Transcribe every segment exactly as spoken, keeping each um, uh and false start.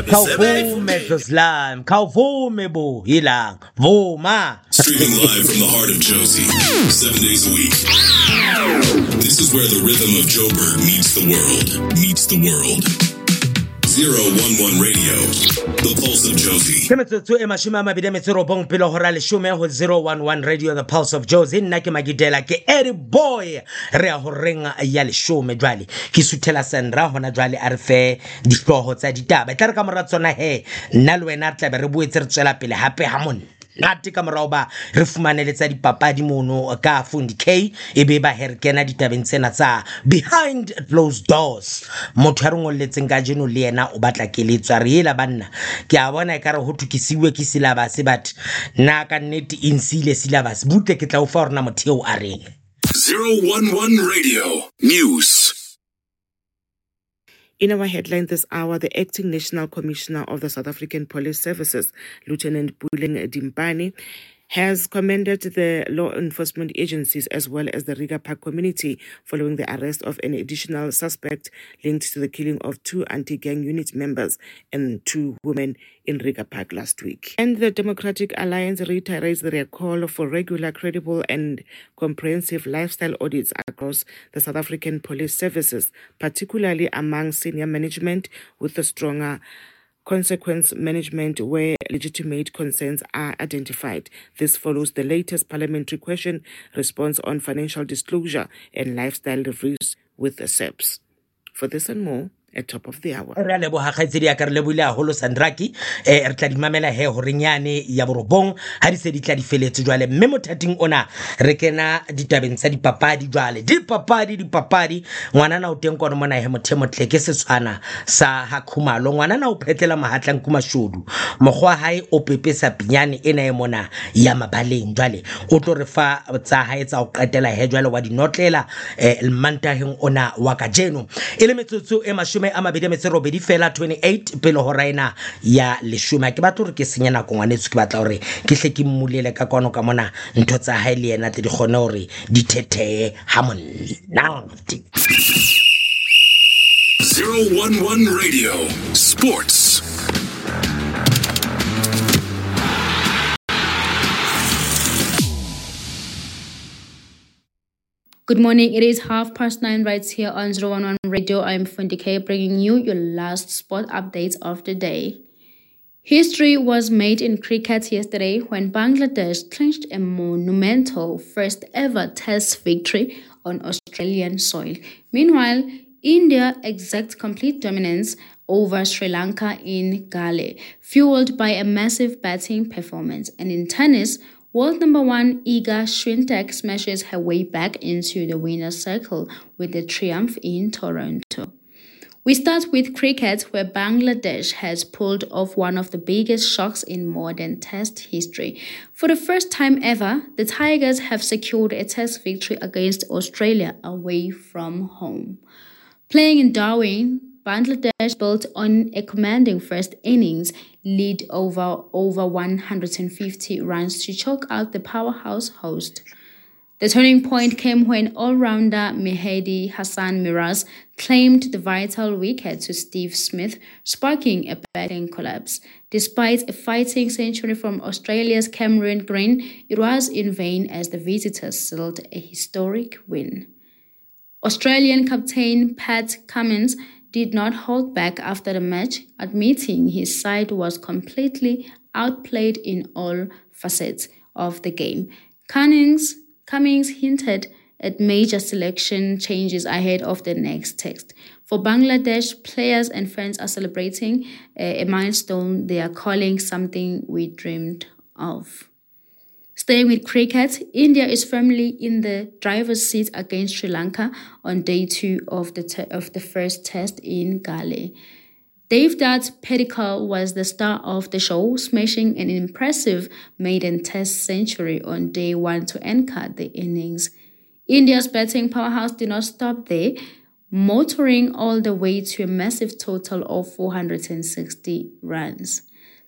Khawuvume dlozi lami, khawuvume bo ilanga, vuma. Streaming live from the heart of Jozi, seven days a week. This is where the rhythm of Joburg meets the world, meets the world. Zero one one Radio, the pulse of Jozi. Ke metsotso e mashome a mabedi a metso e robong pele hora leshome ho zero one one Radio, the pulse of Jozi. Nna ke Magidela, ke Eddie Boy. Re ya horeng ya leshome jwale. Ke suthela Sandra hona jwale a re fe dihlooho tsa ditaba. E tla re ka mora tsona he, nna le wena re tla be re boetse re tswela pele hape ha monate ka morao ba re fumane le tsa dipapadi mono ka Fundi K, e be ba he re kena ditabeng tsena tsa behind closed doors. Motho ya re ngolletseng kajeno le yena o batla keletso, a re ela banna, ke a bona ekare ho thwe ke siuwe ke syllabus, but nna ka nnete e nsiile syllabus. Butle ke tla o fa hore na motho eo a reng. Zero one one Radio News. In our headline this hour, the acting National Commissioner of the South African Police Services, Lieutenant Puleng Dimpane, has commended the law enforcement agencies as well as the Reiger Park community following the arrest of an additional suspect linked to the killing of two anti-gang unit members and two women in Reiger Park last week. And the Democratic Alliance reiterates their call for regular, credible and comprehensive lifestyle audits across the South African Police Services, particularly among senior management, with a stronger consequence management where legitimate concerns are identified. This follows the latest parliamentary question response on financial disclosure and lifestyle reviews with the S A P S. For this and more, at top of the hour. Re a leboha kgaitsedi ya ka, re lebohile haholo Sandraki. Eh, re tla di mamela he horeng yane ya borobong ha di se di tla di feletse jwale. Mme mothating ona re kena ditabeng tsa dipapadi jwale. Dipapadi, dipapadi. Ngwanana o teng kwano mona he motho e motle ke Setswana sa ha Khumalo. Ngwanana o phetlela mahatlang Kumashodu. Mokgwa hae o pepesa pinyane ena e mona ya mabaleng jwale. O tlo re fa tsa hae tsa ho qetela he jwale wa di notlela, eh, mantaheng ona wa kajeno. E le metsotso e mashome a mabedi a metso e robedi fela, twenty-eight pele hora ena ya leshome. Ha ke batle hore ke senye nako ngwaneso, ke batla hore ke hle ke mmulele ka kwano ka mona ntho tsa hae le yena tle di kgone hore di thetheye ha monate. Zero one one Radio Sports. Good morning. It is half past nine right here on zero one one Radio. I'm Fundi K, bringing you your last sport updates of the day. History was made in cricket yesterday when Bangladesh clinched a monumental first ever Test victory on Australian soil. Meanwhile, India exacts complete dominance over Sri Lanka in Galle, fueled by a massive batting performance. And in tennis, world number one Iga Swiatek smashes her way back into the winner's circle with a triumph in Toronto. We start with cricket, where Bangladesh has pulled off one of the biggest shocks in modern Test history. For the first time ever, the Tigers have secured a Test victory against Australia away from home. Playing in Darwin, Bangladesh built on a commanding first innings lead over, over one hundred and fifty runs to choke out the powerhouse host. The turning point came when all-rounder Mehedi Hasan Miraz claimed the vital wicket to Steve Smith, sparking a batting collapse. Despite a fighting century from Australia's Cameron Green, it was in vain as the visitors sealed a historic win. Australian captain Pat Cummins did not hold back after the match, admitting his side was completely outplayed in all facets of the game. Cummins, Cummins hinted at major selection changes ahead of the next test. For Bangladesh, players and fans are celebrating a, a milestone they are calling something we dreamed of. Staying with cricket, India is firmly in the driver's seat against Sri Lanka on day two of the te- of the first test in Galle. Devdutt Padikkal was the star of the show, smashing an impressive maiden test century on day one to anchor the innings. India's batting powerhouse did not stop there, motoring all the way to a massive total of four hundred and sixty runs.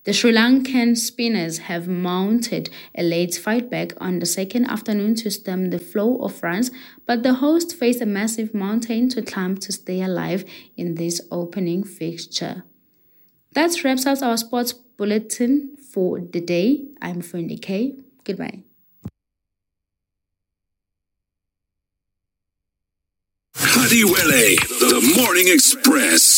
The Sri Lankan spinners have mounted a late fight back on the second afternoon to stem the flow of runs, but the host faced a massive mountain to climb to stay alive in this opening fixture. That wraps up our sports bulletin for the day. I'm Fundi K. Goodbye. Hadiwele, the Morning Express.